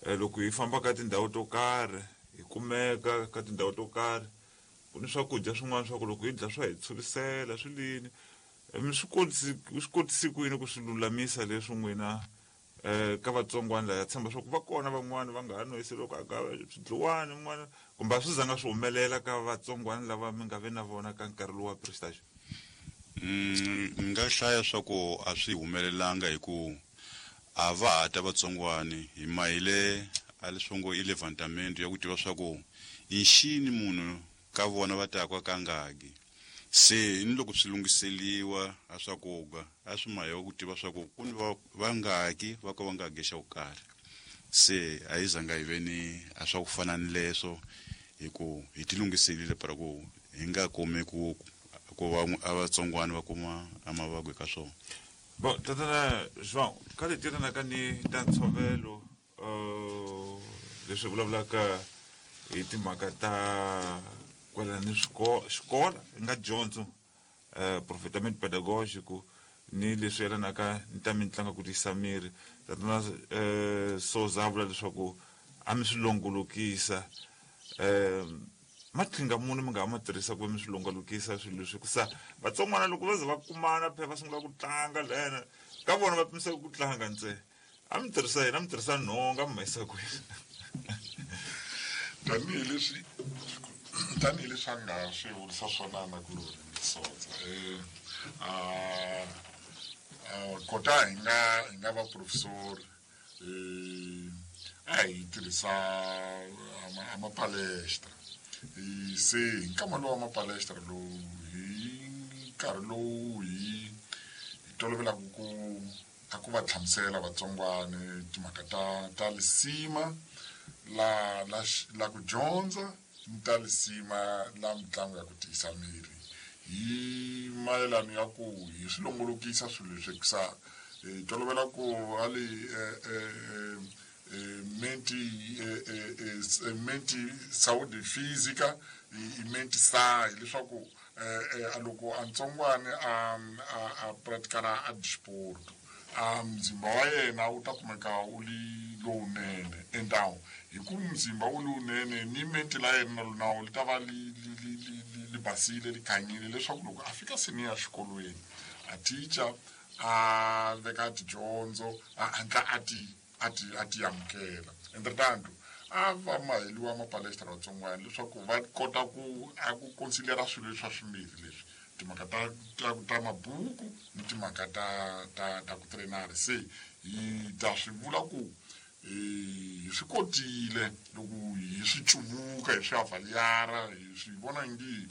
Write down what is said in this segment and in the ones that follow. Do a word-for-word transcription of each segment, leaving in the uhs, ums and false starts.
Loko hi famba ka tindhawu to karhi, hi kumeka ka tindhawu to karhi, ku ni swakudya swin'wana swa ku loko hi dya swa hi tshurisela swi lini. Mi swi kotisi swi kotisi ku yini ku swi lulamisa leswi n'wina um ka vatsongwana laya tshemba swa ku va kona van'wani va nga ha nwisi loko a ka swidliwani n'wana kumbe a swi zanga swi humelela ka vatsongwana lava mi nga ve na vona ka nkarhi lowu wa prestage? Mm, ni nga hlaya swa ku a swi humelelanga hi ku a va ha ta vatsongwani hi mahile a leswi ngo i levantamento ya ku tiva swa ku i nxini munhu ka vona va taka ka ngaki. Se ni loko swi lunghiseliwa a swakudya a swi mahewa ku tiva swa ku ku ni va vangaki va ka va nga ge xa ku karhi. Se a yi zanga hi ve ni a swa ku fana ni leswo hi ku hi ti lunghiselile para ku hi nga kumi ku ku va a vatsongwana va kuma a mavabyi ka swona. Bon, tatana João, ka leti yelanaka ni ta ntshovelo uh, leswi vulavulaka hi timhaka ta kwalano ni xikola hi nga dyondzo uh, profetament pedagogico ni leswi yelanaka ni ta mitlangu ku tiyisa miri. Tatana uh, Souza a vula leswaku a mi swi longolokisa um maqhinga muni mi nga ha ma tirhisa ku va mi swi longolokisa swilo leswi ku sa vatsongwana loko va ze va kumana phela va sungula ku tlanga lena ka vona va pimisaka ku tlanga ntsena. A mi tirhisa yini? A mi tirhisa nhonga mi ma yisa kwini? Tanihileswi tanihileswi a nga swi vurisa swona na ku sotsa um kota hi nga hi nga va professor um a hi tirhisa a mapalestra. Se hi nkama lowu wa mapalestra lowu hi nkarhi lowu hi hi tolovelaka ku a ku va hlamusela vatsongwana timhaka ta ta lisima la la la ku dyondza ni ta lisima la mitlangu ya ku tiyisa miri hi mayelano ya ku hi swi longolokisa swilo leswi hikusa hi tolovela ku ali menti menti saúde física i menti sa hileswaku loko a ntsongwana a a pratikana a disporto a mzimba wa yena wu ta kumeka wu li lowunene. Então hi ku mzimba wu lowunene ni menti la yena na nawu li ta va li li li li li basile li khanyile leswaku loko a fika seni ya xikolweni a teacher a veka tidyondzo a hatla a ti a ti a ti amukela. Entretanto a va maheliwa mapalestra vatsongwana leswaku va kota ku a ku considera swilo leswi swa swimbirhi leswi timhaka ta ta ta mabuku ni timhaka ta ta ta ku trainara. Se hi ta swi vula ku hi swi kotile loko hi swi cuvuka hi swi avaliara hi swi vona ngi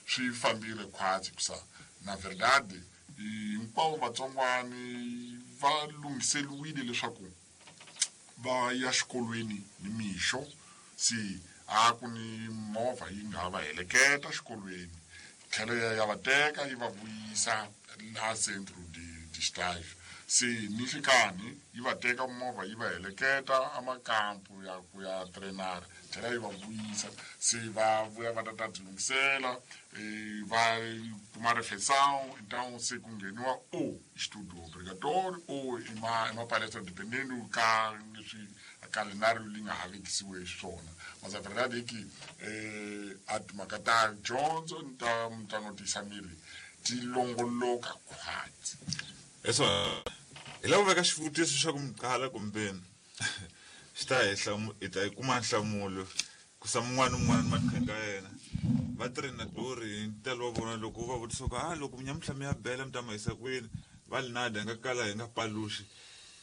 swi fambile khwatsi hikusa na verdade hinkwavo vatsongwani va lunghiseliwile leswaku va ya xikolweni ni mixo. Se a ku ni movha yi nga va heleketa xikolweni tlhelo ya ya va teka yi va vuyisa la centro de de estágio. Se ni nhlikani yi va teka movha yi va heleketa amakampu ya ku ya trainara tlhela yi va vuyisa. Se va vuya va ta ta ti lunghisela va kuma refeição. Então se ku ngheniwa o estudo obrigatório ou i ma i mapalestra dependendo ka leswi calendário li nga ha vekisiwe xiswona. Mas a verdade é que eh, a timhaka ta dyondzo ni ta mitlangu tiyisa miri ti longoloka khwatsi. Eso hi lava veka xivutiso xa ku mi qala kumbe xi ta hi hlamu hi ta yi kuma nhlamulo ku sa mun'wana ni un'wana maqhinga ya yena. Va trenador hi ntalo wa vona loko va vutisa ku a loko nyamuntlha mi ya bela mi ta ma yisa kwini va li nada hi nga kala hi nga paluxi.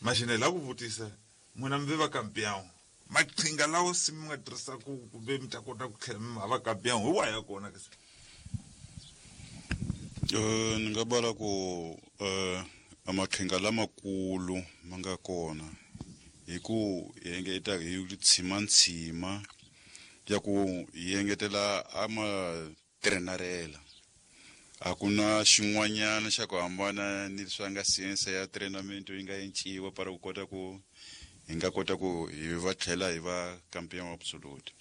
Maxina hi lava ku vutisa n'wina mi ve va campeão maqhinga lawa se mi nga tirhisaku kumbe mi ta kota ku tlhela mi va campeão hi wahi ya kona ke se? Uh, ni nga vula ku uh, amaqhinga lamakulu ma nga kona hi ku hi engeta hi tshimantsima ya ku hi engetela ama trenarela. A ku na xin'wanyana xa ku hambana ni leswi nga science ya treinamento yi nga enciwa para ku kota ku hi nga kota ku hi va tlhela hi va campeão absolute.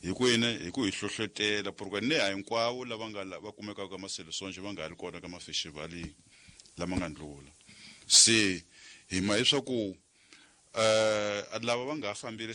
Hi ku yini? Hi ku hi hlohlotela porque ni a hinkwavo lava nga va kumekaka ka maseleções va nga ha ri kona ka mafestivali lama nga ndlula. Se hi ma leswaku uh, lava va nga ha fambile